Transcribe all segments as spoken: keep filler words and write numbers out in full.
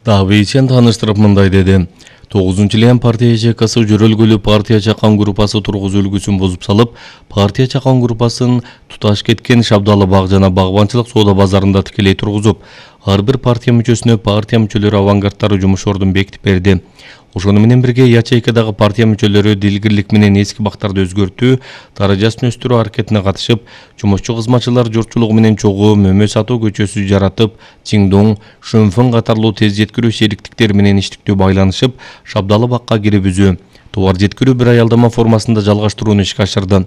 Давичен таныштырып мындай деди. тогузунчу лен партия ячейкасы жөрөлгөлүү партия чакан группасы тургузуу үлгүсүн бузуп салып, партия чакан группасын туташ кеткен Шабдалы бак жана багбанчылык соода базарында тикелей тургузуп, ар бир партия мүчөсүнө партия мүчөлөрү авангардтары жумуш ордун бекитип берди. Ошону менен бирге ячейкадагы партия мүчөлөрү дилгирлик менен эски бактарды өзгөртүү, даражасын өстүрүү аракетине катышып, жумушчу кызматчылар журтчулугу менен чогуу мөмө сатуу көчөсү жаратып, Чиңдоң, Шөнфөн катарлуу тез жеткирүү шериктиктери менен иштиктүү байланышып, Шабдалы бакка кирибизүү, товар жеткирүү бир аялдама формасында жалгаштырууну ишке ашырды.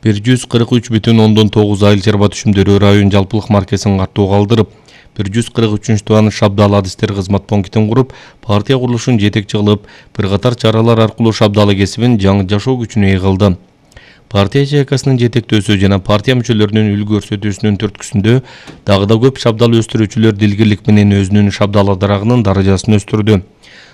бир жүз кырк үч бүтүн ондон тогуз айыл чарба түшүмдөрү район жалпылык маркесин каттуу калдырып, бир жүз кырк үчүнчү тубан Шабдалы адистер кызмат пунктин куруп, партия курулушун жетекчи кылып, бир катар чаралар аркылуу Шабдалы кесибин жаңы жашоо күчүнө ээ кылды. Партия ячейкасынын жетектөөсү жана партия мүчөлөрүнүн үлгү көрсөтүүсүнүн түрткүсүндө дагы да көп Шабдалы өстүрүүчүлөр дилгирлик менен өзүнүн Шабдалы дарагынын даражасын өстүрдү.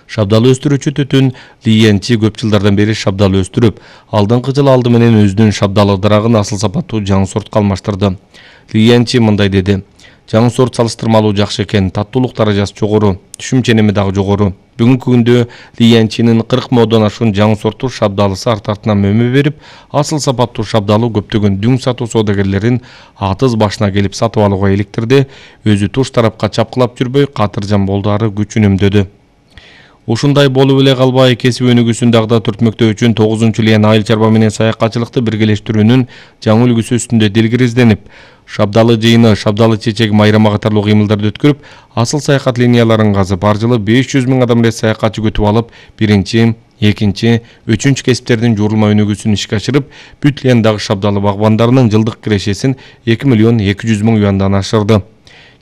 Шабдалы өстүрүүчү Түтүн Лиенчи көп жылдардан бери Шабдалы өстүрүп, алдыңкы жылы алды менен өзүнүн Шабдалы дарагын асыл сапаттуу жаңы сортко алмаштырды. Лиенчи мындай деди. Жаңы сорт салыштырмалуу жакшы экен, таттуулук даражасы жогору, түшүм ченеми дагы жогору. Бүгүнкү күндө Лиенчинин кырк модон ашкан жаңы сорттуу Шабдалысы арт артынан мөмө берип, асыл сапаттуу Шабдалы көптөгөн дүң сатуу соодагерлерин атыз башына келип сатып алууга иликтирди. Өзү туш тарапка чапкылап жүрбөй, катыржан болду, ары күчүн үнөмдөдү. Ушундай болуп эле калбай, кесип өнүгүүсүн дагы да түртмөктөө үчүн тогузунчу лен айыл чарба менен саякатчылыкты биргелештирүүнүн жаңы үлгүсү үстүндө дилгир изденип, Шабдалы жыйыны, Шабдалы чечеги майрама катарлуу кыймылдарды өткөрүп, асыл саякат линияларын казып, ар жылы беш жүз миң адам эле саякатчы күтүп алып, биринчи, экинчи, үчүнчү кесиптердин жуурулма өнүгүүсүн ишке ашырып, бүт лендагы Шабдалы багбандарынын жылдык кирешесин эки миллион эки жүз миң юандан ашырды.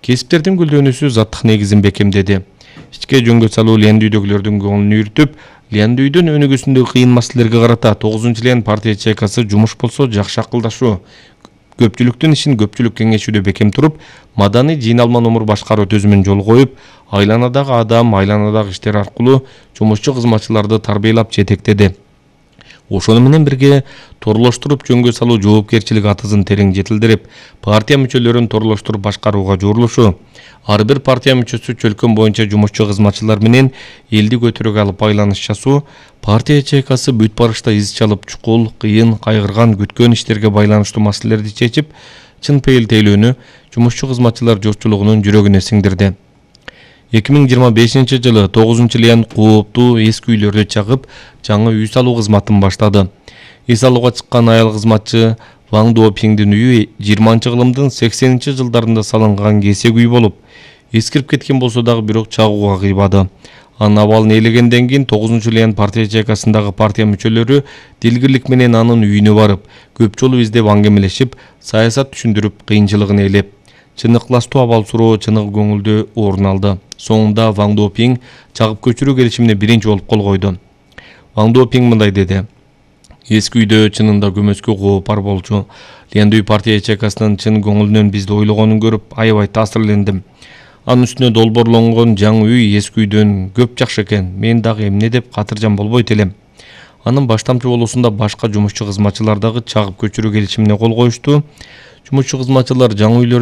Кесиптердин гүлдөнүүсү заттык негизин бекемдеди. Ичке жөнгө салуу лендүйдөгүлөрдүн көңүлүн үйрүтүп, лендүйдүн өнүгүүсүндөгү кыйын маселелерге карата тогузунчу лен партия ячейкасы жумуш болсо жакшы акылдашуу, көпчүлүктүн ишин көпчүлүк кеңешүүдө бекем туруп, маданий жыйналма номур башкаруу төзүмүн жолго коюп, айланадагы адам, айланадагы иштер аркылуу жумушчу кызматчыларды тарбиялап жетектеди. Ошону менен бирге торлоштуруп жөнгө салуу жоопкерчилик атызын терең жетилдирип, партия мүчөлөрүн торлоштуруп башкарууга жуурулушу, ар бир партия мүчөсү чөлкөн боюнча жумушчу кызматчылар менен элди көтөрүүгө алып байланыш жасоо, партия ячейкасы бүт барышта из чалып, чукул, кыйын, кайгырган, күткөн иштерге байланыштуу маселелерди чечип, чын пейил тейлөөнү жумушчу кызматчылар журтчулугунун жүрөгүнө сиңдирди. эки миң жыйырма бешинчи жылы тогузунчу лен кооптуу эски үйлөрдү чагып, жаңы үй салуу кызматын баштады. Үй салууга чыккан айыл кызматчы Ваң Дуопиңдин үйү жыйырманчы кылымдын сексенинчи жылдарында салынган кесек үй болуп, эскирип кеткен болсо дагы бирок чагууга кыйбады. Анын абалын ээлегенден кийин тогузунчу лен партия ячейкасындагы партия мүчөлөрү дилгирлик менен анын үйүнө барып, көп жолу издеп аңгемелешип, саясат түшүндүрүп, кыйынчылыгын ээлеп, чыныкташтуу абал суроо чыныгы көңүлдө орун алды. Соңунда Ваң Дуопиң чагып көчүрүү келишимине биринчи болуп кол койду. Ваң Дуопиң мындай деди. Эски үйдө чынында көмөскө кооп бар болчу. Лендүй партия ячейкасынын чын көңүлүнөн бизди ойлогонун көрүп, аябай таасирлендим. Анын үстүнө долбоорлонгон жаңы үй эски үйдөн көп жакшы экен. Мен дагы эмне деп катыржан болбойт элем. Анын баштамчы болуусунда башка жумушчу кызматчылар дагы чагып көчүрүү келишимине кол коюшту. Жумушчу кызматчылар жаңы үйлөр